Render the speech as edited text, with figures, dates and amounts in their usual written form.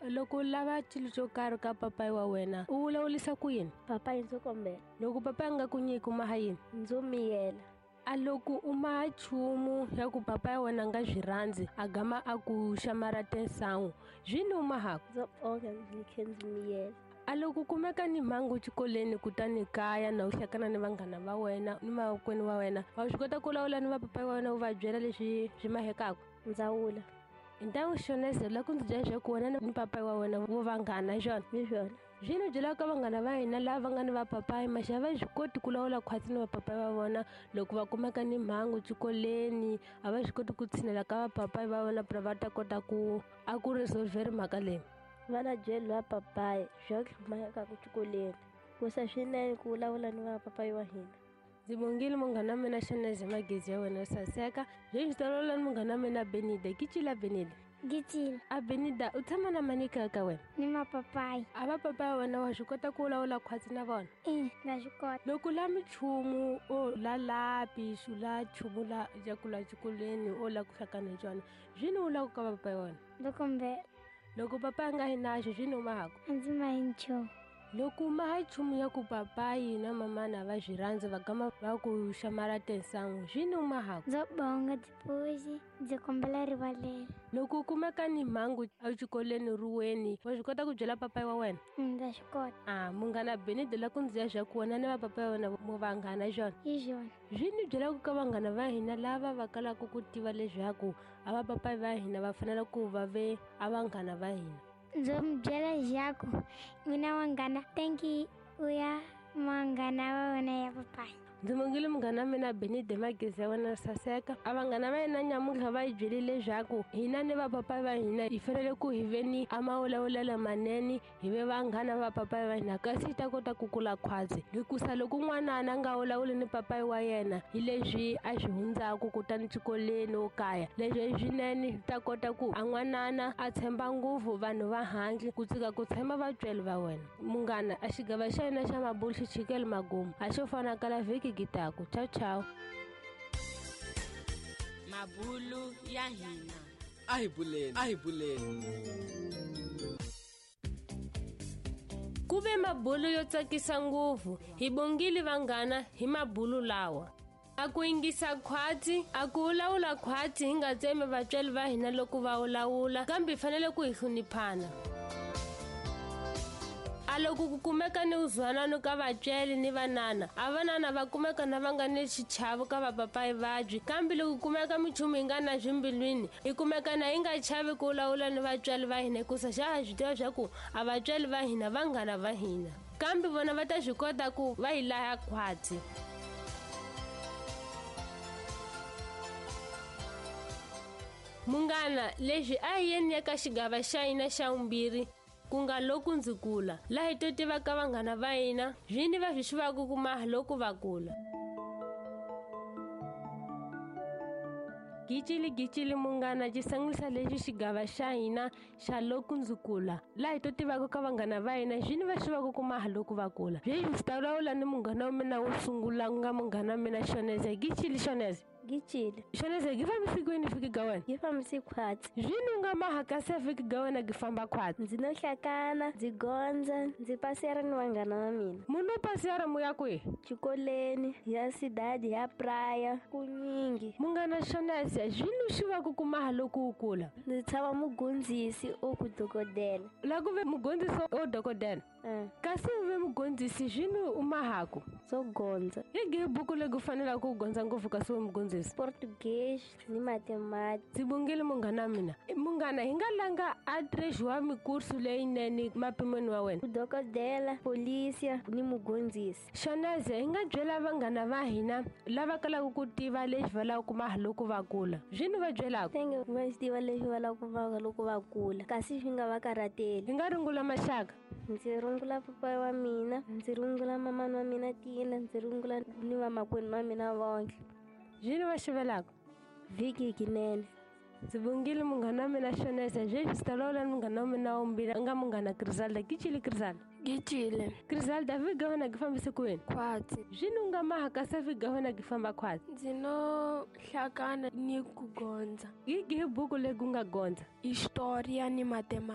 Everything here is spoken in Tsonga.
Loko u lava xilo xo karhi ka papayi wa wena u vulavurisa ku yini? Papayi ndzo kombela. Loko papayi a nga ku nyiki u maha yini? Ndzo miyela. A loko u maha nchumu ya ku papayi wa wena a nga byi rhandzi a gama a ku xamara tinsangu byi ni u mahaku? Ndzo bonga ndzi khe ndzi miyela. A loko kumeka ni mhangu xikolweni kutani kaya na u hlekana ni vanghana va wena ni makwenu wa wena wa swi kota ku lawula ni vapapayi wa wena u va byela leswi swi mahekaka? Ndzawula. Hi ntangu xonese la ku ndzi byela leswaku wena ni papayi wa wena vo vanghana hi swona? Hi swona. Swi ni byelaka ka vanghana va hina lava nga ni vapapayi maxa a va swi koti ku lawula khwatsi ni vapapayi va vona loko va kumeka ni mhangu xikolweni a va swi koti ku tshinela ka vapapayi va vona va ta kota ku a ku resolver mhaka leyi. Va na byeli va papayi bya ku hlumayaka xikolweni ku sa swinene ku vulavula ni vapapayi wa hina. Ndzi bongile munghana wa mina Xaneze magezi ya wena yo saseka. Sweswi ndzi ta vulavula ni munghana wa mina Benida. Gicila Benida. Gicila. A Benida u tshama na mani kaya ka wena? Ni mapapayi. A vapapayi wa wena wa swi kota ku vulavula khwatsi na vona? Ina, na swi kota. Loko la minchumu o la lapi u la nchumu la ya ku la xikolweni o la ku hlakana hi xona swi ni vulaka ka vapapayi wa wena? Ndo kombela. Loko papayi a nga yi naxo swi ni u mahaku? A ndzi mahi nchumu. Loko maha nchumu ya ku papayi na mamana va swi rhandza va gama va ku xamara tinsangu swi ni u mahaku? Ndzo bonga tipuxi ndzi kombela rivalelo. Loko u kumeka ni mhangu exikolweni ruweni wa swi kota ku byela papayi wa wena? Ndza swi kota. A munghana Benide la ku ndzi ya swa ku wena ni vapapayi wa wena mo vanghana hi swona? Hi swona. Swi ni byelaka ka vanghana va hina lava va kalaka ku tiva leswaku a vapapayi va hina va fanele ku va ve a vanghana va hina. Ndzo mi byela leswaku n'wina vanghana thank you u ya vanghana va wena ya papayi. Ndzi mongile munghana wa mina Benide magezi ya wena saseka. A vanghana va hina nyamuntlha va hi byelile leswaku hina ni vapapayi va hina hi fanele ku hi ve ni a mavulavulelo manene hi ve vanghana va papayi va hina kasi hi ta kota ku kula khwatsi hikusa loko n'wanana a nga vulavuli ni papayi wa yena hi leswi a swi hundzaku kutani xikolweni wo kaya leswi i swinene hi ta kota ku a n'wanana a tshemba ngopfu vanhu va handle ku tsika ku tshemba vatswari va wena. Munghana a xigava xa hina xa mabulu xi chikele magumu a xo fana kala vhiki gitaku. Ciao ciao. Mabulu ya hina. A hi buleni, a hi buleni. Ku ve mabulu yo tsakisa ngopfu hi bongile vanghana hi mabulu lawa. A ku yingisa khwatsi a ku vulavula khwatsi hi nga tsemi vatswari va hina loko va vulavula kambe hi fanele ku hi hloniphana. A loko ku kumeka ni uzwanano ka vatswari ni vanana a vanana va kumeka na va nga ni xichavo ka vapapayi vabyi kambe loko ku kumeka minchumu yi nga na swimbilwini hi kumeka na yi nga chavi ku vulavula ni vatswari va hina hikusa xa ha swi tiva swa ku a vatswari va hina vanghana va hina kambe vona va ta swi kota ku va hi laya khwatsi. Munghana leswi a hi yeni eka xigava xa hina xa vumbirhi ku nga loko ndzi kula laha hi to tivaka vanghana va hina vini va swi xivaka ku maha loko va kula. Gicili gicili munghana xi sangulisa lexi xigava xa hina xa loko ndzi kula laha hi to tivaka ka vanghana va hina vini va xivaka ku maha loko va kula. Sweswi ndzi ta vulavula ni munghana wa mina wo sungula ku nga munghana wa mina Xoneze. Gicili Xoneze. Gicile. Xoneze gi fambisi kwini vhiki ga wena? Gi fambisi khwatsi. Zwini u nga maha kasi vhiki ga wena gi famba khwatsi? Ndzi no hlakana, ndzi gondza, ndzi pasiyara ni vanghana va mina. Munhu u pasiyara mu ya kwihi? Xikolweni, ya sidadi, ya praya, kunyingi. Munghana Xoneze, zwini u xivaka ku maha loko u kula? Ndzi tshava mugondzisi o ku dokodela. La ku ve mugondzisi o dokodela? Kasi u ve mugondzisi zwini u mahaku? Swo gondza. Hi gihi buku leyi ku fanelaka ku gondza ngopfu kasi u mugondzisi? Portuguese ni mathematics. Ndzi bongile munghana wa mina. Munghana hi nga langa a trexiwa mikursu leyinene mapimweni wa wena? Dokodela, polisia ni mugondzisi. Xoneze hi nga byela vanghana va hina lava kalaka ku tiva leswi va lavaka ku maha loko va kula. Zwini va byelaka? Tenge va swi tiva leswi va lavaka ku maha loko va kula kasi swi nga va karhateli. Hi nga rungula maxaka. Ndzi rungula papayi wa mina, ndzi rungula mamani wa mina Tina, ndzi rungula ni vamakwenu va mina vonke. Zwini va xivelaka? Vhiki kinene. Ndzi bongile munghana wa mina Xoneze sweswi ndzi ta vulavula ni munghana wa mina wa vumbirhi a nga munghana Griselda. Gicile Griselda. Gicile. Griselda vhiki ga wena gi fambise kwini? Khwatsi. Zwini u nga maha kasi vhiki ga wena gi famba khwatsi? Ndzi no hlakana ni ku gondza. Hi gihi buku leyi ku nga gondza? Historia ni mathematics.